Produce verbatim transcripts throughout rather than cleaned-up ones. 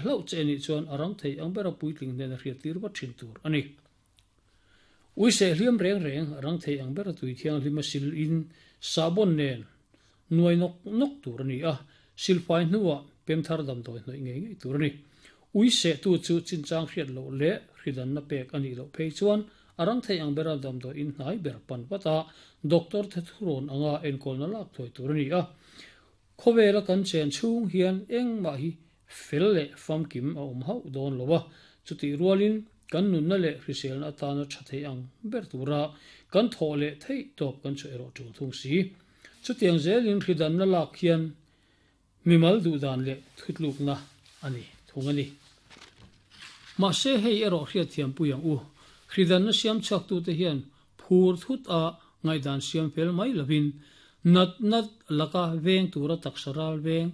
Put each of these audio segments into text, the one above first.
hlauh che anih chuan a rang thei ang bera puitling hnena hriattir vat thin tur a ni. Ui seh hliam reng reng a rang thei ang bera tui thianghlim a sil in sahbawn nen nuai nawk nawk tur a ni a, silfai hnuah pemthar damdawi hnawih ngei ngei tur a ni. Ui seh tu chu chinchang hriat loh leh hridanna pek a nih loh phei chuan a rang thei ang bera damdawi in hnai ber pan vat a, doctor te thurawn anga enkawlna lak thuai tur a ni a. Khawvela kan chen chhung hian engmah hi fel leh famkim a awm hauh dawn lo a, chutih rualin kan nunna leh hriselna atana tha thei ang ber tura kan thawh leh theih tawp kan chu erawh tul thung si. Chutiang zelin hridanna lak hian mimal duhdan leh thutlukna a ni thung a ni. Mahse hei erawh hriatthiam pui ang u, hridanna siam chhuak tute hian phur thut a ngaihdan siam fel mai lovin nat nat laka veng tura taksa ral veng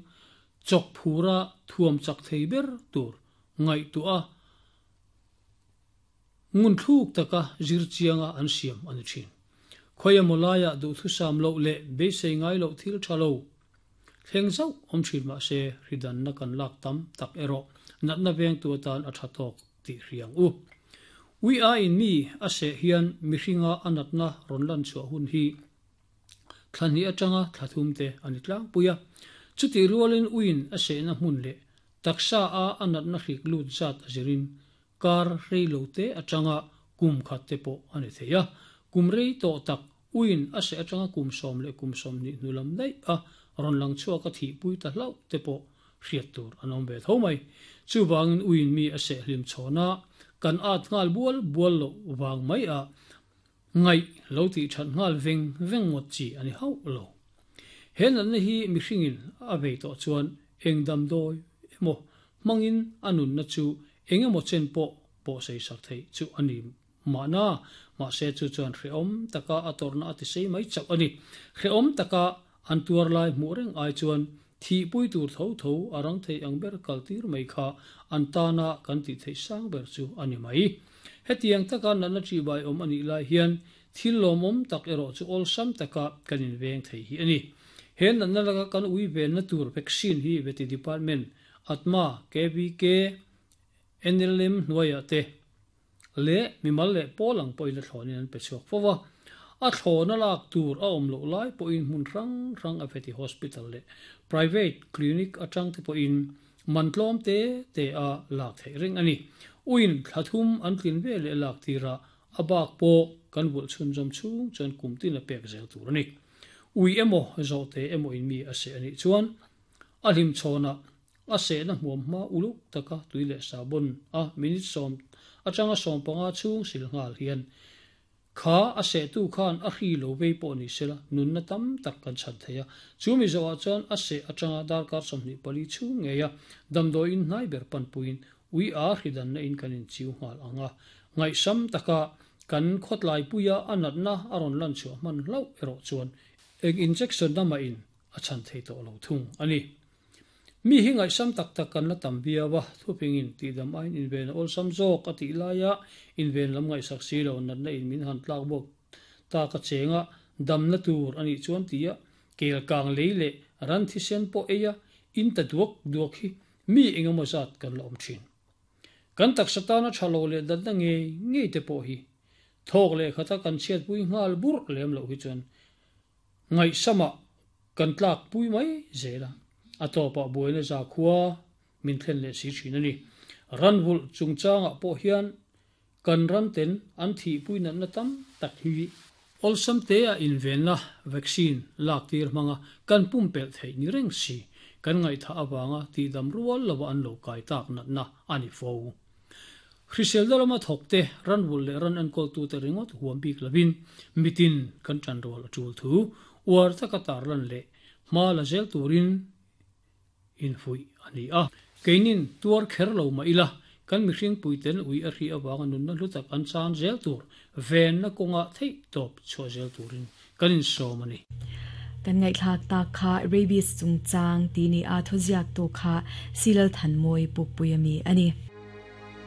chawk phura thuam chak thei ber tur ngaihtuah a ngun thluk taka zir chianga an siam a ni thin. Khawia mawlaia duhthusam loh leh beisei ngai loh thil tha lo thleng zauh awm thin mahse hridanna kan lak tam tak erawh natna veng tu atan a tha tawk tih hriang u. Ui a in mi a seh hian mihringa a natna rawn lan chhuah hun hi thlahnih atanga thlathum te a ni tlangpui a. Chutih rualin uiin a sehna hmun leh taksa a a natna hrik lut zat a zirin kar rei lo te atanga kum khat te pawh a ni thei a. Kum rei tawh tak uiin a seh atanga kum sawm leh kum sawm hnih hnu lam daih a rawn lang chhuak a thihpui ta hlauh te pawh hriat tur an awm ve tho mai. Chuvangin uiin mi a seh hlim chhawn a, kan at nghal bual bual loh vang mai a ngaih lo tih that nghal veng veng ngawt chi a ni hauh lo. He natna hi mihringin a vei tawh chuan eng damdawi emaw hmangin a nunna chu eng emaw chen pawh pawh sei sak theih chu a ni mahna, mahse chu chuan hrehawm taka a tawrhna a ti sei mai chauh a ni. Hrehawm taka an tuar lai hmuh reng ai chuan thihpui tur tho tho a rang thei ang ber kaltir mai kha an tana kan tih theih sang ber chu a ni mai. Hetiang taka natna chi bai awm a nih lai hian thil lawmawm tak erawh chu awlsam taka kan inveng thei hi a ni. He natna laka kan ui venna tur vaccine hi veti department ATMA, K V K, N L M hnuaiah te leh mimal leh pawl ang pawhin a thlawnin an pe chhuak fo va. A thlawna lak tur a awm loh lai pawhin hmun hrang hrang a veti hospital leh private clinic atang te pawhin man tlawm te te a lak theih reng a ni. Uiin thlathum an tlin ve leh lak tira a bak pawh kan vulh chhun zawm chhung chuan kum tin a pek zel tur a ni. Ui emaw zawhte emaw in mi a seh anih chuan a hlim chhawnah a sehna hmuam hma uluk taka tui leh sahbawn a minute sawm atanga sawm panga chhung sil nghal hian kha a sehtu khan a hri lo vei pawh ni sela nunna tam tak kan chhan thei a. Chu mi zawhah chuan a seh atanga darkar sawmhnih pali chhung ngei a damdawiin hnai ber panpuiin ui a hridanna in kan inchiu nghal ang a. Ngaihsam taka kan khawtlai puia a natna a rawn lan chhuah hman hlauh erawh chuan eng injection na mah in a chhan thei tawh lo thung a ni. Mi hi ngaihsam tak tak kan la tam viau a, thupingin tihdam aiin inven a awlsam zawk a tih laia inven lam ngaihsak si lo natna in min han tlak bawk tak a chenga damna tur a nih chuan tia kel kang lei leh ran thisen pawh ei a in ta duak duak hi mi engemaw zat kan la awm thin. Kan taksa tana tha lo leh datna ngei ngei te pawh hi thawk leh khata kan chhiatpui nghal burh lem loh hi chuan ngaihsamah kan tlak pui mai zel a. A tawpah buaina za khua min thlen leh si thin a ni. Ran vulh chungchangah pawh hian kan ran ten an thihpui natna tam tak hi awlsam te a invenna vaccine lak tir hmanga kan pumpelh theih ni reng si kan ngaihtha awanga tihdam rual lova an lo kai tak natna a ni fo. Hrisel lama thawk te ran vulh leh ran enkawl tu te ringawt huam bik lovin mitin kan tan rual a tul thu uar taka tar lan leh hma la zel turin in fui a ni a. Keinin tuar kher lo ma ila kan mihring puiten ui a hri awanga nunna hlu tak an chan zel tur venna kawnga theih tawp chhuah zel turin kan insawm a ni. Kan ngaihthlak tak kha rabies chungchang ti ni a thuziak tu kha Silal Thanmawi Pukpui ami a ni.